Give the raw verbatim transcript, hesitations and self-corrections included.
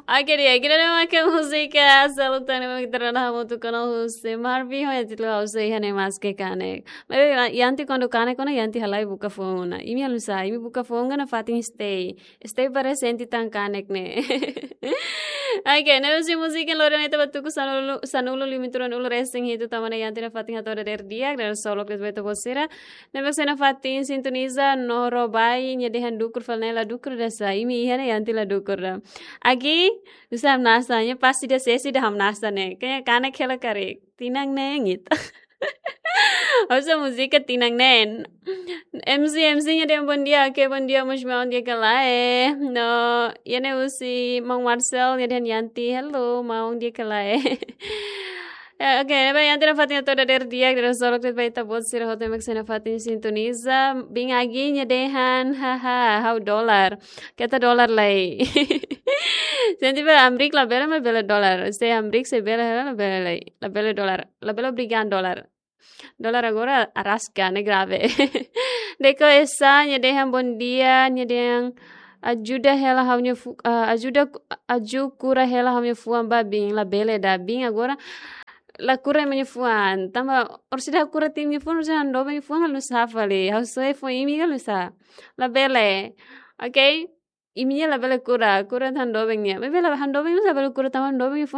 Oke, di'ak, ida-ne'e mak múzika Seluk Tan ne'ebé mak ita rona hamutuk ona husi Marvin ho, iha títulu Ha'u Sei Iha Ne'e Maske Kanek. Maibé, Yanti kuandu kanek ona, Yanti halai buka foun ona. Imi halo nusá, imi buka foun ona fatin stay. Stay presente tan kanek ne'e. Oke, ne'e husi múzika lori ona ita ba tuku sanulu, sanulu limitron ulu resin hitu tanba ne'e Yanti nafatin hato'o dadeer di'ak, dadeer solok de'it ba ita-boot sira. Ne'ebé mak sei nafatin sintoniza no robai, nia dehan dukur fali ne'e la dukur ida sá, imi iha ne'e Yanti la dukur ida. Agi, nusá hamnasa, nia pasti ida sesi ida hamnasa ne'e. Kayaknya kanek hela karik. Tinan ne'e ngita. Ha'u só múzika tinan ne'e. M C, M C nia dehan bom dia, oke, bom dia, maun, di'ak ka lae. No, iha ne'e husi maun Marcel, nia dehan Yanti, hello, maun, di'ak ka lae. Eh, oke, ne'ebé Yanti nafatin hato'o dadeer di'ak, dadeer solok de'it ba ita-boot sira hotu ne'ebé mak sei nafatin sintoniza. Bin Agi nia dehan, haha, ha'u dolar. Keta dolar lai. Se ita ba Amrik labele, maibé bele dolar. Se Amrik sei bele, labele lai. Labele dolar. Labele obrigadu dolar. Dolar agora araska, ne'e grave. Deko Esa, nia dehan bom dia, nia dehan ajuda hela ha'u-nia fu-, ah, ajuda, aju kura hela ha'u-nia fuan ba bin, labele ida bin agora la kura ema nia fuan. Tanba orsida kura imi-nia fuan, orsida ha'u doben imi-nia fuan, halo nusá fali. Ha'u soe foin imi ka halo nusá. Labele. Oke? Imi-nia labele kura, kura tan doben nia. Maibé la ha'u doben imi labele kura tanba doben imi-nia fuan.